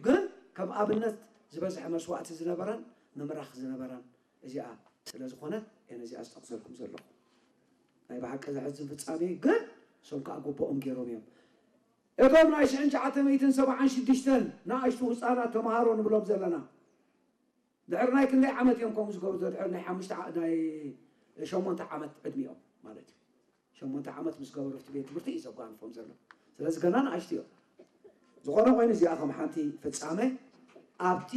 ግን ከም ኣብነት ዝበዝሐ መስዋእቲ ዝነበራን ምምራኽ ዝነበራን እዚኣ ስለ ዝኾነት እየ ነዚኣ ዝጠቕሰልኩም ዘለኹ። ናይ ብሓቂ ዘሕዝን ፍጻሜ ግን እሶም ከዓ ግቡኦም ገይሮም እዮም። እቶም ናይ ሽሕን ትሽዓተ ሚእትን ሰብዓን ሽዱሽተን ንኣሽቱ ህፃናት ተምሃሮ ንብሎም ዘለና ድሕሪ ናይ ክንደይ ዓመት እዮም ከምኡ ዝገብሩ? ድሕሪ ናይ ሓሙሽተ ዓ- ናይ ሸሞንተ ዓመት ዕድሚኦም ማለት እዩ። ሸሞንተ ዓመት ምስ ገበሩ ኣብቲ ቤት ትምህርቲ እዩ ዘጓንፎም ዘሎ። ስለዚ ገና ንኣሽቱ እዮም። ዝኾነ ኮይኑ እዚኣ ከም ሓንቲ ፍጻመ ኣብቲ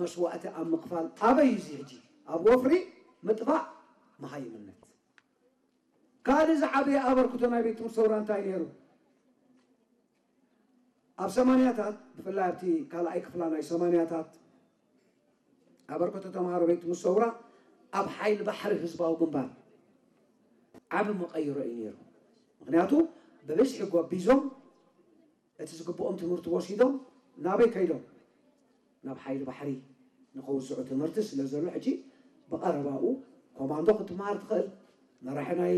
መስዋእቲ ኣብ ምኽፋል ኣበይ እዩ እዚ ሕጂ ኣብ ወፍሪ ምጥፋእ መሃይምነት ካልእ ዝዓበየ ኣበርክቶ ናይ ቤት ትምህርቲ ሰውራ እንታይ ነይሩ? ኣብ ሰማንያታት ብፍላይ ኣብቲ ካልኣይ ክፍላ ናይ ሰማንያታት ኣበርክቶ ተምሃሮ ቤት ትምህርቲ ሰውራ ኣብ ሓይሊ ባሕሪ ህዝባዊ ግንባር ዓቢ መቐይሮ እዩ ነይሩ። ምክንያቱ ብብዝሒ ጎቢዞም እቲ ዝግብኦም ትምህርቲ ወሲዶም ናበይ ከይዶም ናብ ሓይሊ ባሕሪ ንኸውስዑ ትምህርቲ ስለ ዘሎ ሕጂ ብቐረባኡ ኮማንዶ ክትመሃር ትኽእል፣ መራሒ ናይ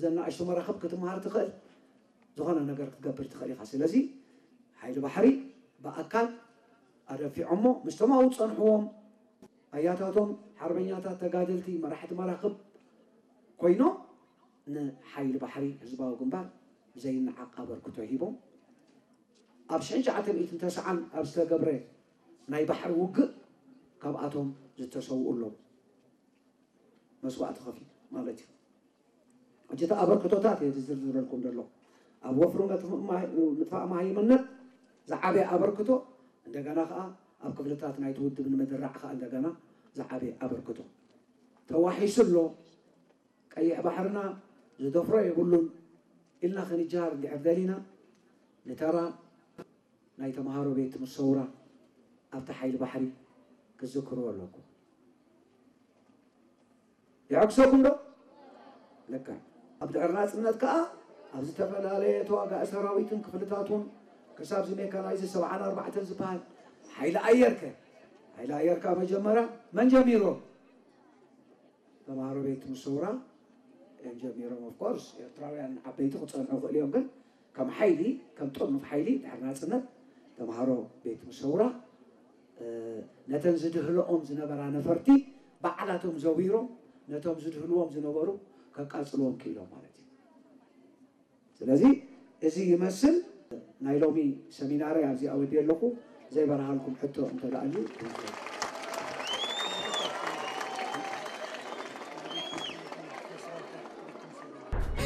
ዘናእሽቱ መራኽብ ክትመሃር ትኽእል፣ ዝኾነ ነገር ክትገብር ትኽእል ኢኻ። ስለዚ ሓይሊ ባሕሪ ብኣካል ኣደፊዖሞ ምስቶም ኣብኡ ዝፀንሕዎም ኣያታቶም ሓርበኛታት ተጋደልቲ መራሕቲ መራኽብ ኮይኖም ንሓይሊ ባሕሪ ህዝባዊ ግንባር ዘይነዓቕ ኣበርክቶ ሂቦም። ኣብ ሽሕን ትሽዓተ ሚእትን ተስዓን ኣብ ዝተገብረ ናይ ባሕሪ ውግእ ካብኣቶም ዝተሰውኡ ኣለዉ። መስዋእቲ ከፊሉ ማለት እዩ። ሕጂ እቲ ኣበርክቶታት እየ ዝዝርዝረልኩም ዘለኹ። ኣብ ወፍሪ መጥፍ- ማይ- ምጥፋእ መሃይምነት ዝዓበየ ኣበርክቶ እንደገና ከዓ ኣብ ክፍልታት ናይቲ ውድብ ንምድራዕ ከዓ እንደገና ዝዓበየ ኣበርክቶ ተዋሒሱ ኣሎ። ቀይሕ ባሕርና ዝደፍሮ የብሉን ኢልና ክንጃሃር እንድሕር ደሊና ንተራ ናይ ተምሃሮ ቤት ትምህርቲ ሰውራ ኣብቲ ሓይሊ ባሕሪ ክትዝክርዎ ኣለኩም። ይዕግሰኩም ዶ? ለካ ኣብ ድሕሪ ናፅነት ከዓ ኣብ ዝተፈላለየ ተዋጋኢ ሰራዊትን ክፍልታቱን ክሳብ እዚ ሜካናይዝ ሰብዓን ኣርባዕተን ዝበሃል ሓይሊ ኣየር ከ ሓይሊ ኣየር ከዓ መጀመርያ መን ጀሚሮ? ተምሃሮ ቤት ትምህርቲ ሰውራ እዮም ጀሚሮም። ኦፍኮርስ ኤርትራውያን ዓበይቲ ክፀንሑ ይኽእሉ እዮም፣ ግን ከም ሓይሊ ከም ጥርኑፍ ሓይሊ ድሕሪ ናፅነት ተምሃሮ ቤት ትምህርቲ ሰውራ ነተን ዝድህልኦም ዝነበራ ነፈርቲ ባዕላቶም ዘዊሮም ነቶም ዝድህልዎም ዝነበሩ ከቃፅልዎም ክኢሎም ማለት እዩ። ስለዚ እዚ ይመስል ናይ ሎሚ ሰሚናረይ ኣብዚ ኣወዲ ኣለኹ። ዘይበርሃልኩም ሕቶ እንተደኣልዩ